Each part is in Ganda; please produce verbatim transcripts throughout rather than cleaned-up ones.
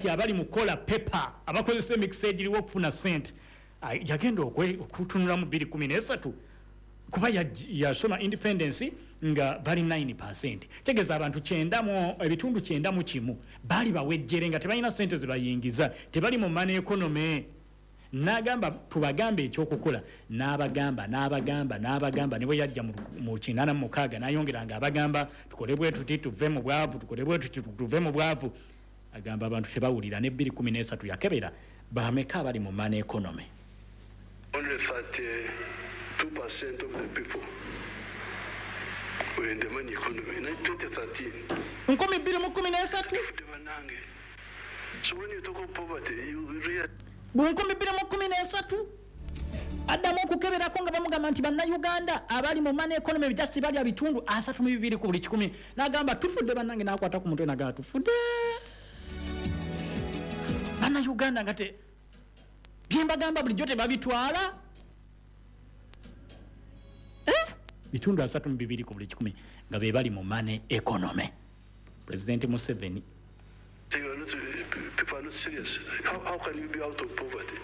Abali mu kukola pepa, abakozesa emikisa egiriwo okufuna sente, yagenda okutunulamu bbiri kumi nesatu, kuba yasoma independence nga bali nine percent, tegeeza abantu kyenda, ebitundu kyenda mu kimu baali bawejjere nga tebalina sente zebayingiza, tebali mu money economy. N'agamba, "Tubagambe ekyokukola." N'abagamba, n'abagamba, n'abagamba. Ne bwe yajja mu kinaana mu mukaaga, n'ayongera nga abagamba, "Tukole bwe tuti tuve mu bwavu, tukole bwe tuti tuve mu bwavu." Agamba abantu tebawulira. Ne bbiri kumi n'esatu yakebera bameka abali mu money economy. Only thirty-two percent of the people were in the money economy in twenty thirteen. Nkumi bbiri mu kumi n'esatu. Bannange. So when you talk of poverty, you really Bu nkumi bbiri mu kumi n'esatu addamu okukeberako nga bamugamba nti Bannayuganda abali mu money economy just balya bitundu asatu mu bibiri ku buli kikumi. N'agamba, "Tufudde bannange." N'akwata ku mutwe nagamba, "Tufudde Bannayuganda, nga te byembagamba bulijjo tebabitwala." Eh? Bitundu asatu mu bibiri ku buli kikumi nga be bali mu money economy. President Museveni You are not, people are not serious. How, how can you be out of poverty?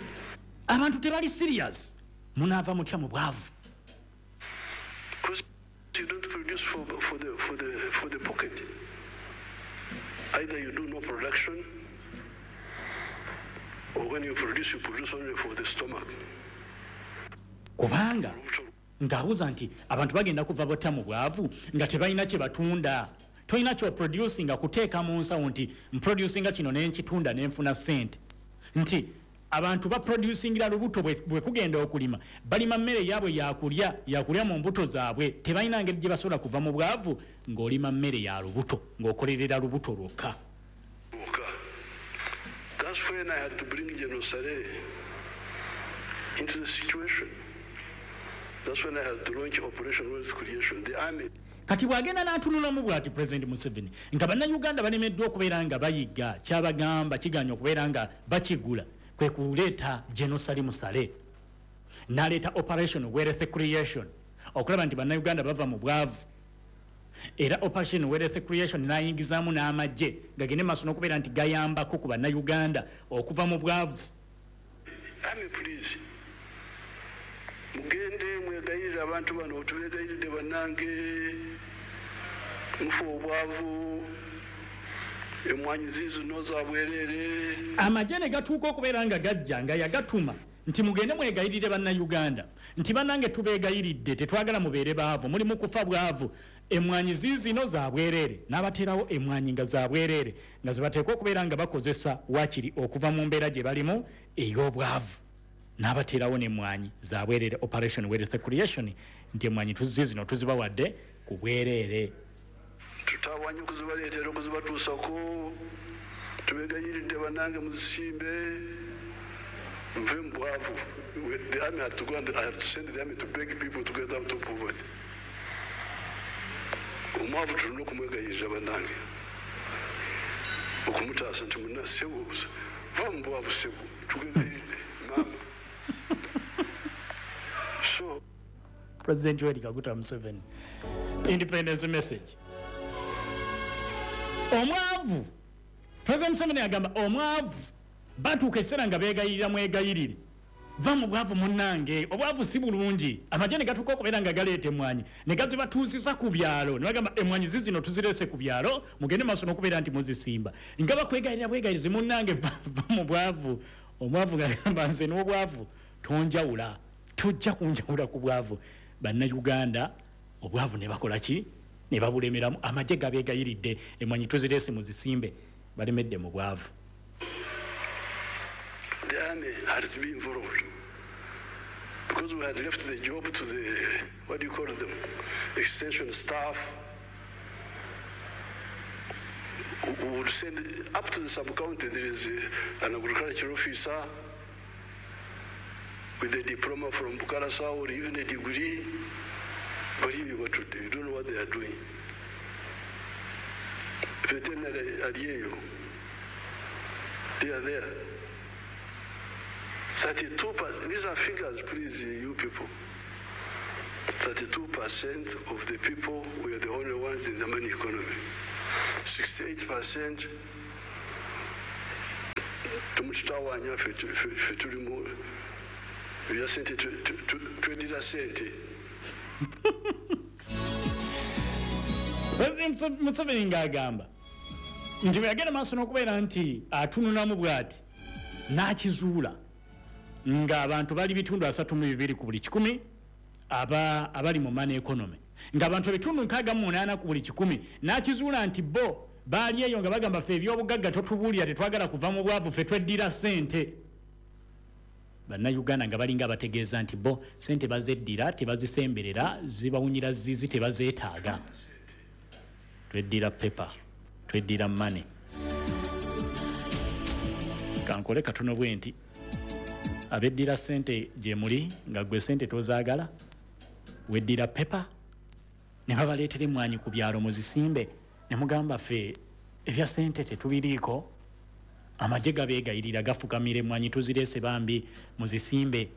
Abantu tebali serious, munaava mutya mu bwavu? Because you don't produce for, for, the, for, the, for the pocket. Either you do no production, or when you produce, you produce only for the stomach. Kubanga ng'abuuza nti abantu bagenda kuva botya mu bwavu nga tebalina kye batunda? Tolina kyoproducinga kuteeka mu nsawo nti mproducinga kino nenkitunda nenfuna sente, nti abantu baproducingira lubuto. bwe bwe kugenda okulima, balima mmere yaabwe yakulya, yakulya mu mbuto zaabwe. Tebalina ngeri gye basobola kuva mu bwavu ng'olima mmere ya lubuto, ng'okolerera lubuto lwokka. Okay. That's when I had to bring General Saleh into the situation. That's when I had to launch Operation Wealth Creation. The army Kati bw'agenda n'atunulamu bw'ati President Museveni nga Bannayuganda balemeddwa okubeera nga bayiga kyabagamba, kiganya okubeera nga bakigula, kwe kuleeta General Salim Saleh, n'aleeta Operation Wealth Creation okulaba nti Bannayuganda bava mu bwavu. Era Operation Wealth Creation n'ayingizaamu n'amagye gagende maaso n'okubeera nti gayambako ku Bannayuganda okuva mu bwavu. Army, please. Mugende mwegayirire abantu bano, tubegayiridde bannange, mufe obwavu, emwanyi ziizino za bwereere. Amagye ne gatuuka okubeera nga gajja nga yagatuma nti, "Mugende mwegayirire Bannayuganda nti bannange tubeegayiridde, tetwagala mubeere baavu, muli mu kufa bwavu, emwanyi ziizino za bwereere." N'abateerawo emwanyi nga za bwereere, nga zebateekwa okubeera nga bakozesa wakiri okuva mu mbeera gye balimu ey'obwavu. N'abateerawo n'emwanyi za bwereere, Operation Wealth Creation, nti emwanyi tuzizino tuzibawadde ku bwereere. Tutawanye okuzibaleetera, okuzibatuusako, tubegayiridde bannange, muzisimbe nve mu bwavu. The army had to go and I had to send the army to beg people to get out of poverty. Omwavu tulina okumwegayirira bannange, okumutaasa nti, "Muna sebo, va mu bwavu, sebo, tugegayiridde maama." So President Yoweri Kaguta Museveni, independence message. Omwavu, President Museveni agamba omwavu batuuka ekiseera nga beegayirira, "Mwegayirire, va mu bwavu munnange, obwavu si bulungi." Amagye ne gatuuka okubeera nga galeeta emwanyi ne gazibatuusiza ku byalo, ne bagamba, "Emwanyi zizino tuzireese ku byalo, mugende maaso n'okubeera nti muzisimba." Nga bakwegayirira bwegayirizi, "Munnange, va va mu bwavu." Omwavu gagamba, "Nze n'obwavu tonjawula, tujja kunjawula ku bwavu." Bannayuganda obwavu ne bakola ki? Ne babulemeramu. Amagye gabeegayiridde, "Emwanyi tuzireese muzisimbe," balemedde mu bwavu. The army had to be involved because we had left the job to the, what do you call them, extension staff, who who would send up to the sub-county. There is uh, an agricultural officer with a diploma from Bukalasa or even a degree, but he what to do, you don't know what they are doing. Veterinary alieyo, they are there. thirty-two percent, these are figures, please, you people. thirty-two percent of the people were the only ones in the money economy. sixty-eight percent Temututawaanya ffe ffe tuli mu ebya ssente, tweddira ssente. President Museveni ng'agamba nti bwe yagenda maaso n'okubeera nti atununamu bw'ati n'akizuula ng'abantu bali bitundu asatu mu bibiri ku buli kikumi aba abali mu money economy, ng'abantu ebitundu nkaaga mu munaana ku buli kikumi n'akizuula nti bo baali eyo nga bagamba ffe ebyobugagga totubuulira, tetwagala kuva mu bwavu, ffe tweddira ssente. Bannayuganda nga balinga abategeeza nti bo ssente bazeddira, tebazisemberera, zibawunyira zizi, tebazeetaaga. Tweddira paper, tweddira money. Kankole katono bwe nti abeddira ssente gye muli nga gwe ssente tozaagala, weddira paper ne babaleetera emmwanyi ku byalo muzisimbe ne mugamba ffe ebya ssente tetubiriiko, amagye gabeegayirira gafukamira emmwanyi tuzireese bambi muzisimbe,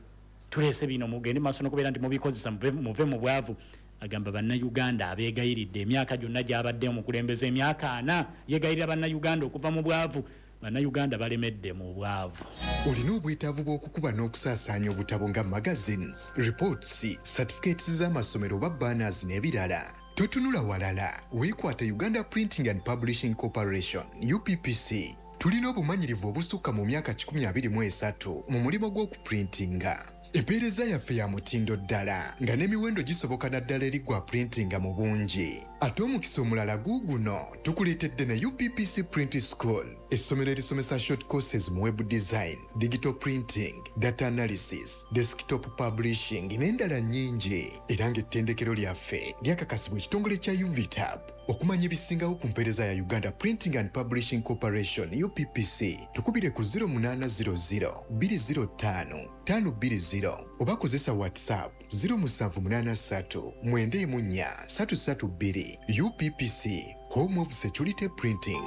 tuleese bino mugende maaso n'okubeera nti mubikozesa muve mu bwavu. Agamba bannayuganda abeegayiridde emyaka gyonna gy'abadde omukulembeze, emyaka ana yeegayirira bannayuganda okuva mu bwavu, bannayuganda balemedde mu bwavu. Olina obwetaavu bw'okukuba n'okusaasaanya obutabo nga magazines, reports, certificates z'amasomero oba banners n'ebirala. Totunula walala, weekwate Uganda Printing and Publishing Corporation, U P P C. Tulina obumanyirivu obusukka mu myaka kikumi abiri mu esatu mu mulimu gw'okuprintinga. Empeereza yaffe ya mutindo ddala nga n'emiwendo gisoboka naddala eri gwa printinga mu bungi. Ate omukisa omulala guuguno tukuleetedde ne U P P C Print School, essomero erisomesa short courses mu web design, digital printing, data analysis, desktop publishing n'endala nnyingi. Era ng'ettendekero lyaffe lyakakasibwa ekitongole kya U V T A B. Okumanya ebisingawo ku mpeereza ya Uganda Printing and Publishing Corporation U P P C, tukubire ku zero munaana zero zero bbiri zero ttaano ttaano bbiri zero oba kozesa WhatsApp zero musanvu munaana ssatu mwenda emu nnya ssatu ssatu bbiri. U P P C, Home of Security Printing.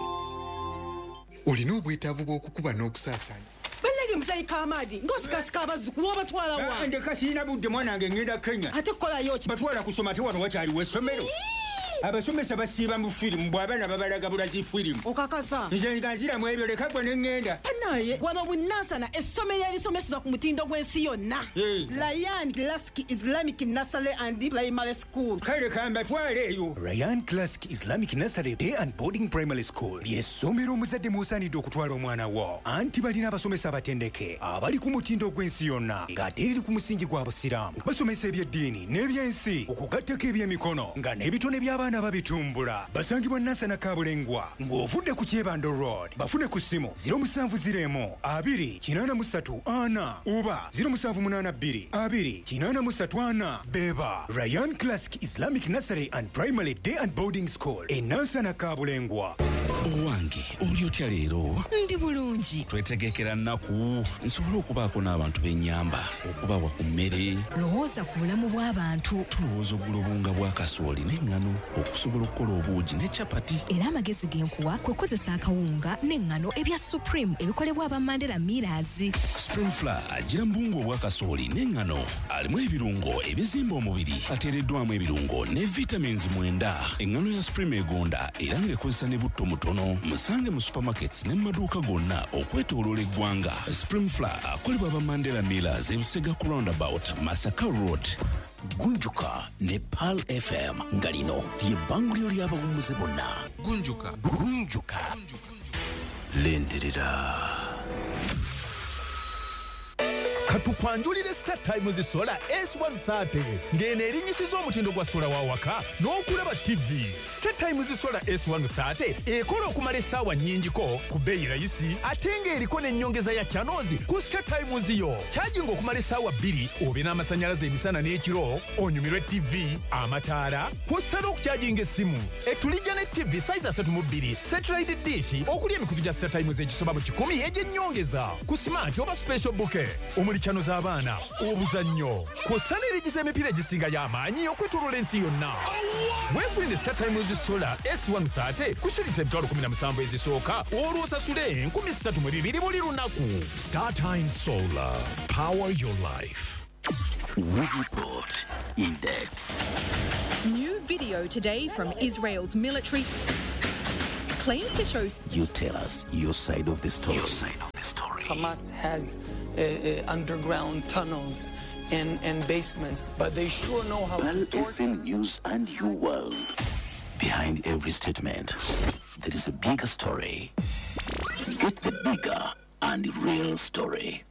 Olina obwetaavu bw'okukuba n'okusaasaanya. Bannange muzeeyi Kaamadi ng'osikasika abazzukulu obatwala wa? Ndeka sirina budde mwana wange, ngenda Kenya. Ate kukolayo ki? Batwala kusoma ate wano wakyaliwo essomero. Abasomesa basiiba mu firimu bw'abaana babalaga bulazi firimu. Okakasa? Nze nga nziramu ebyo leka gwe ne ŋŋenda. Bannaye wano Bunansana essomero erisomeseza ku mutindo gw'ensi yonna. Ryan Classic Islamic Nursery and Primary School. Kale kambatwale eyo. Ryan Classic Islamic Nursery Day and Boarding Primary School ly'essomero omuzadde mw'osaanidde okutwala omwana wo. Anti balina abasomesa abatendeke abali ku mutindo gw'ensi yonna ng'ate eriri ku musingi gwa Busiraamu. Basomesa eby'eddiini n'ebyensi okugattako eby'emikono nga n'ebitone by'abaana babitumbula. Basangibwa Nansana Kabulengwa ng'ovudde ku Kyebando Road. Bafune ku ssimu zero musanvu zero emu abiri kinaana mu ssatu ana oba zero musanvu munaana bbiri abiri kinaana mu ssatu ana. Beba Ryan Classic Islamic Nursery and Primary Day and Boarding School e Nansana Kabulengwa. Owange oli otya leero? Ndi bulungi. Twetegekera nnaku nsobole okubaako n'abantu b'ennyamba, okubawa ku mmere. Lowooza ku bulamu bw'abantu. Tulowooza ogula obuwunga bwa kasooli n'eŋŋano okusobola okukola obuugi ne capati. Era amagezi ge nkuwa kwe kukozesa akawunga n'eŋŋano ebya Supreme ebikolebwa aba Mandela Millers. Supreme Flour agira mu buwunga obwa kasooli n'eŋŋano, alimu ebirungo ebizimba omubiri, ateereddwamu ebirungo ne vitamins mwenda. Eŋŋano ya Supreme egonda era ng'ekozesa ne butto mutono. Musange mu supermarkets ne mu maduuka gonna okwetooloola eggwanga. Supreme Flour akolebwa aba Mandela Millers ebusega ku roundabout Masaka Road. Gunjuka ne Pearl F M nga lino ly'ebbanguliro ly'abawummuze bonna. Gunjuka. Gunjuka. Lindirira. Katukwanjulire Star Times Solar S one thirty ng'eno erinnyisiza omutindo gwa sola wa waka n'okulaba T V. Star Times Solar S one thirty ekola okumala essaawa nnyingiko ku bbeeyi rayisi ate ng'eriko n'ennyongeza ya channels ku Star Times yo. Kyajinga okumala essaawa bbiri obe n'amasannyalaze emisana n'ekiro, onyumirwe T V, amataala, kw'ossa n'okukyajinga essimu. Etulijja ne T V size asatu mu bbiri, satellite dish okuli emikutu gya Star Times egisoba mu kikumi egy'ennyongeza ku smart oba special bouquet omuli chano z'abaana, obuzannyo, kw'ossa n'erigiza emipiira egisinga y'amaanyi okwetooloola ensi yonna. Weefunire Star Times Solar S one thirty ku shilingi emitwalo kumi na musanvu ezisooka olwo osasule enkumi ssatu mu bibiri buli lunaku. Star Times Solar, power your life. We report in depth. New video today from Israel's military claims to show. You tell us your side of the story. Your side of the story. Hamas has uh, uh, underground tunnels and, and basements, but they sure know how Pearl to torture. F M News and your world. Behind every statement, there is a bigger story. Get the bigger and real story.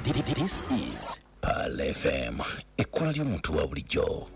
This is Pearl F M, ekkola ly'omuntu wa bulijjo.